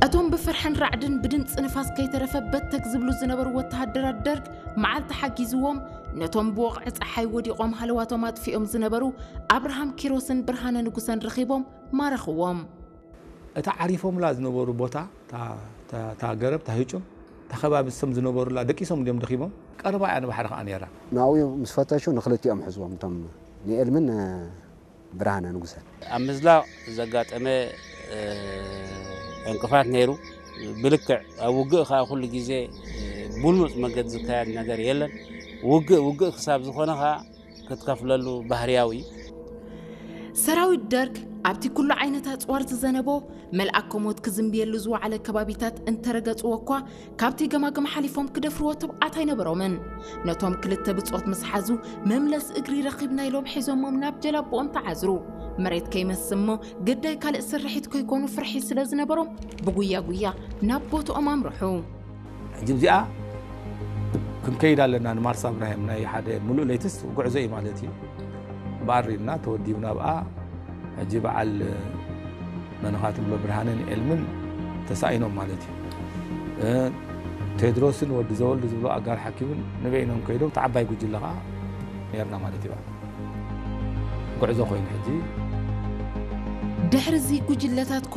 እቶም ብፍርሕን ራዕድን ብድምፂ ንፋስ ከይተረፈ በተግ ዝብሉ ዝነበሩ ወተሃደራት ደርግ መዓልቲ ሓጊዝዎም ነቶም ብወቕዒ ፀሓይ ወዲቖም ሃለዋቶም ኣጥፊኦም ዝነበሩ ኣብርሃም ኪሮስን ብርሃነ ንጉሰን ረኺቦም ማረኽዎም። እታ ዓሪፎምላ ዝነበሩ ቦታ፣ እታ ገረብ፣ እታ ህጩም፣ እታ ከባቢ እሶም ዝነበሩላ ደቂሶም እንዲዮም ደኺሞም። ቀረባ እያ ንባሕሪ ከዓ ነይራ። ናብኡ ምስ ፈተሹ ንክልቲኦም ሕዝዎም፣ እቶም ንኤልምን ብርሃነ ንጉሰን። ኣብ ምዝላቕ ዘጋጠመ ዕንቅፋት ነይሩ። ብልክዕ ኣብ ውግእ ከዓ ኩሉ ግዜ ብሉፅ መገዲ ዝካየድ ነገር የለን። ውግእ ውግእ ክሳብ ዝኾነ ከዓ ክትከፍለሉ ባህርያዊ እዩ። ሰራዊት ደርግ ኣብቲ ኩሉ ዓይነት ኣፅዋር ዝዘነቦ መልኣከ ሞት ክዝንብየሉ ዝወዓለ ከባቢታት እንተረገፅዎ እኳ ካብቲ ገማግም ሓሊፎም ክደፍርዎ ትብዓት ኣይነበሮምን። ነቶም ክልተ ብፆት ምስ ሓዙ መምለስ እግሪ ረኺብና ኢሎም ሒዞሞም ናብ ጀላቦኦም ተዓዝሩ። መሬት ከይመስ እሞ ግዳይ ካልእ ስርሒት ከይኮኑ ፍርሒ ስለ ዝነበሮም ብጉያ ጉያ ናብ ቦትኦም ኣምርሑ። ሕጂ እዚኣ ክንከይድ ኣለና ንማርሳ እብራሂም ናይ ሓደ ሙሉእ ለይትስ ጉዕዞ እዩ ማለት እዩ። ብኣር ኢልና ተወዲብና ብኣ ሕጂ በዓል መንኻ ትብሎ ብርሃንን ኤልምን ተሳኢኖም ማለት እዩ። ቴድሮስን ወዲ ዘወልድ ዝብሎ ኣጋር ሓኪምን ንበይኖም ከይዶም ተዓባይ ጉጅለ ከዓ ነርና ማለት እዩ። ጉዕዞ ኮይኑ ሕጂ ድሕሪ እዚ ጉጅለታት